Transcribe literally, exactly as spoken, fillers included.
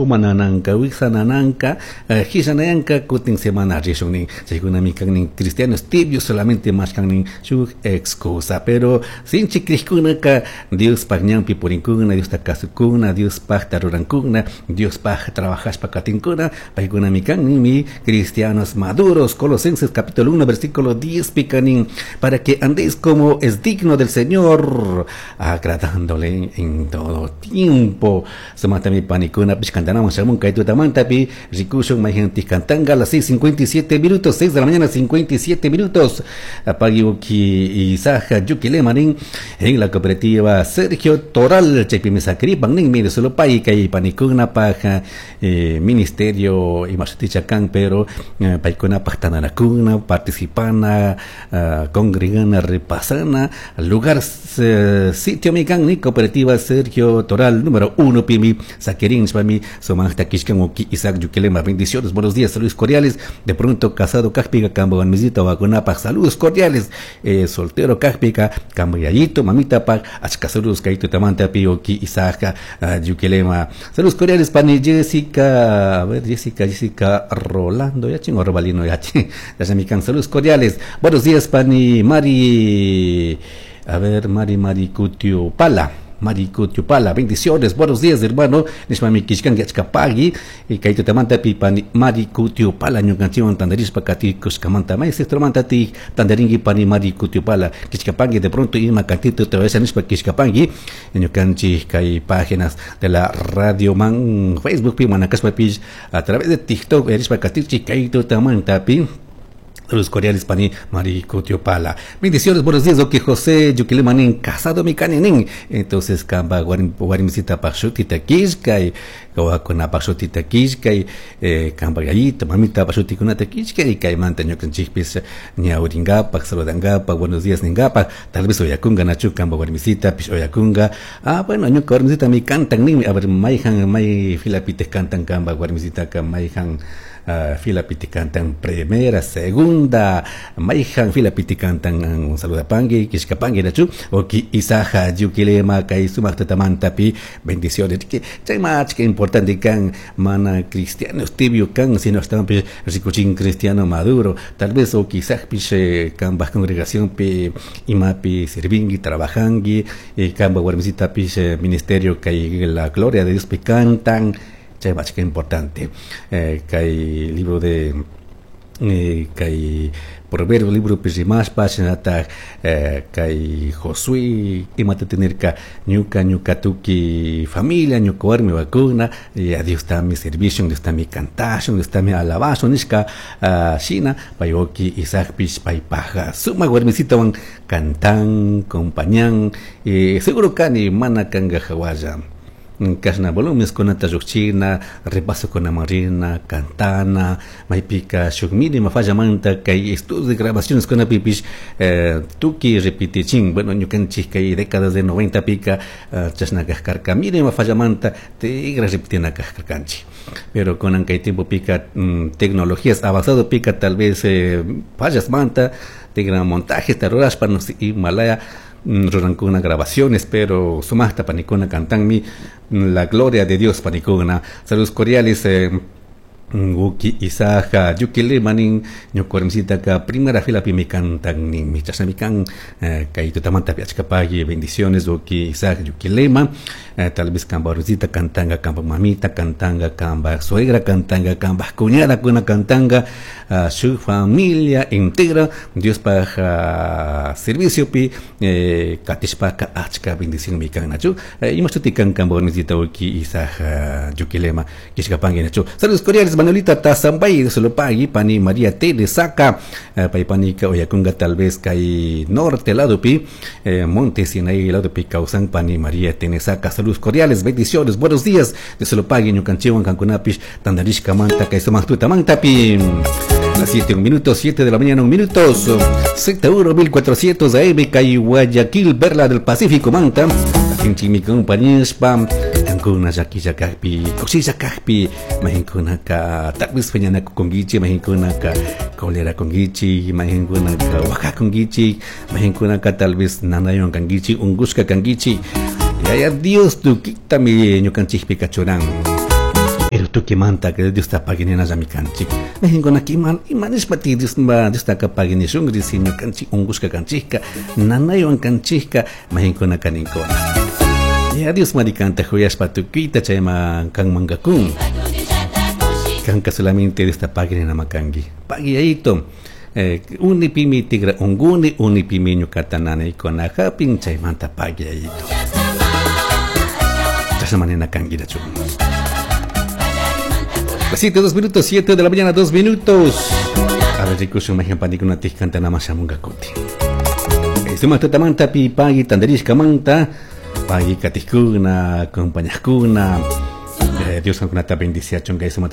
Uma nananka, wiksa nananka, hishanayanka, kutin semana rishun nin. Chaykunami kan nin cristianos tibios solamente mashkan nin shuk excusa, pero sinchi krishkunaka Diospaj ñanpi purinkuna, Diosta kasukuna, Diospajta rurankuna, Diospaj trabajashpa katinkuna, paykunami kan ninmi cristianos maduros. Colosenses capítulo uno versículo diez picanin, para que andéis como es digno del Señor, agradándole en todo tiempo. Sumata mi panikuna pishkantanaman shamun kaytutamantapi rikushun mayjantik kantanga a las seis cincuenta y siete minutos, seis de la mañana cincuenta y siete minutos. Apagiuki Isaja Yuquilemanin en la cooperativa Sergio Toral, chaypimi sakripan ninmi de Solopay kay panikuna paja eh, ministerio imashutichakan, pero eh, paykuna tananakuna, participana, uh, congregana, repasana, lugar uh, sitio mikan ni cooperativa Sergio Toral número uno pimi saquerín shpami sumajta kishkan uki Isaac Yuquilema. Bendiciones, buenos días, saludos cordiales. De pronto casado kajpiga kambo misito vacunapa, saludos cordiales. Eh, soltero kajpiga kambo yayito mamita pa achka saludos kaito tamanta pi uki Isaac uh, Yuquilema. Saludos cordiales pani Jessica, a ver Jessica, Jessica Rolando, ya chingo Robalino ya ching. Ya saludos cordiales. Buenos días pani Mari, a ver Mari Mari Cutio Pala. Maricutiopala, bendiciones, buenos días hermano, nishmami kishkan yachkapagui, y kaito tamanta pi pani Maricutiopala, ñukanchiwan tandarishpa kati kushkamanta, may sectormanta ti tandaringui pani Maricutiopala, kishkapangui de pronto ima kantito te vaya nishpa kishkapangui, ñukanchi kay páginas de la Radio Man, Facebook pi manakashpa pi, a través de TikTok, erishpa katichi kaito tamanta pi. Los cordiales pani Maricutiopala. Bendiciones, buenos días, ok José Yuquilemanin, casado mi caninin. Entonces, kamba guarimcita pachutita kishkay, kawakuna pachutita kishkay, eh, kamba gallito, mamita pachutikunata kishkay, kaymanta ñukanchikpis ñauringapa, saludangapa, buenos días ningapa, tal vez oyakunga nachu kamba guarimcita, pish oyakunga. Ah, bueno, ñuka guarimcita mi cantan nin, a ver, mayhan, may filapite cantan kamba guarimcita ka mayhan. Uh, fila piticantan primera, segunda, mayhan fila piticantan un saludapangui, kishkapangui nachu, oki Isaja Yuquilema kay sumaktatamanta bendiciones. Que chay mach que importante kan mana cristianos tibio kan sino estaban rikuchin cristiano maduro, tal vez o quizás piche kan baj congregación pi imapi sirvingui, trabajangui, y kan guarmisita piche ministerio kay la gloria de Dios pi cantan. Chay mach que importante. Eh, kay libro de eh, kay Proverbio libro pirimashpa shinata eh, kay Josué imata tenerka ñuka ñuka tuki familia ñuka warmi vacuna y a Dios está mi servicio, Dios está mi cantación, Dios está mi alabazo nishka uh, shina payoki Isaac pish paypaja suma warmisita wan cantan compañan eh, seguro kani mana kanga hawalla kashna volumes kunata lluqchina repaso con marina cantana maypika shuk mínima falla manta kay estudios de grabaciones con pipish eh, tuki repitichin bueno ñukanchik kay décadas de noventa pica uh, chashna kajkarka mínima falla manta tigra repitina kajkarkanchik pero con kay tiempo pica mm, tecnologías avanzado pica tal vez eh, fallas manta tigra montajes tarurashpa no sé malaya rurankuna grabaciones, pero sumajta panikuna cantanmi la gloria de Dios panikuna. Saludos cordiales eh, Uki Isaja Yuquilemanin ñukuarmisita ka primera fila pi mi cantan ni mi chasamikan kay tutamanta pi achkapagui bendiciones Uki Isaja Yuquilema eh, tal vez kamba warmisita cantanga kamba mamita cantanga kamba suegra cantanga kamba cuñada kuna cantanga uh, su familia integra Dios pa uh, servicio pi eh, katishpaka achka bendición mi kan nachu eh, imashutikan kamba warmisita Uki Isaja Yuquilema kishkapangui nachu. Saludos cordiales Manuelita Tazambay de Solopagui, pani María T. de Saca, eh, paipanica oyakunga tal vez kay norte lado pi, eh, Monte Sinaí lado pi causan pani María T. Saca, saludos cordiales, bendiciones, buenos días de Solopagui, ñukanchiwan kankunapish, tandarishka manta kay sumaqtuta mantapi. Las siete un minuto, siete de la mañana un minuto, Z uno mil cuatrocientos A M, kay Guayaquil, Perla del Pacífico, manta, kinchimi compañespa, kankuna llakilla kajpi, kushilla kajpi, mahinkunaka tal vez peñanaku kongichi, mahinkunaka kolera kongichi, mahinkunaka waka kongichi, mahinkunaka tal vez nanayon kangichi, ungushka kangichi, yaya Dios tukitami ñukanchikpi kachuran. Tukimanta Diosta pagui ninallami kanchik. Mahinkunaka ima ima nishpati Dios Diostaka pagui nishun si ñukanchik unkushka kanchikka, nanaywan kanchikka, mahinkunaka ninkuna. Ya Dios mari kanta huyashpa tukuyta chayman kanmanka kun. Kanka solamente Diosta pagui ninama kanki. Pagui yayito. Eh, unipimi tigra unguni, unipimi ñukata nanaykuna hapin, chaymanta pagui yayito. Chashna manina kankirachu. Las siete, dos minutos, siete de la mañana, dos minutos. A ver, rikushun mahin panikuna tikkanta nama shamunga kuti. Sumak tutamanta pi pagui tandarishkamanta, pagui katikuna, compañajkuna. Eh, Dios kankunata bendiciachun kay sumak.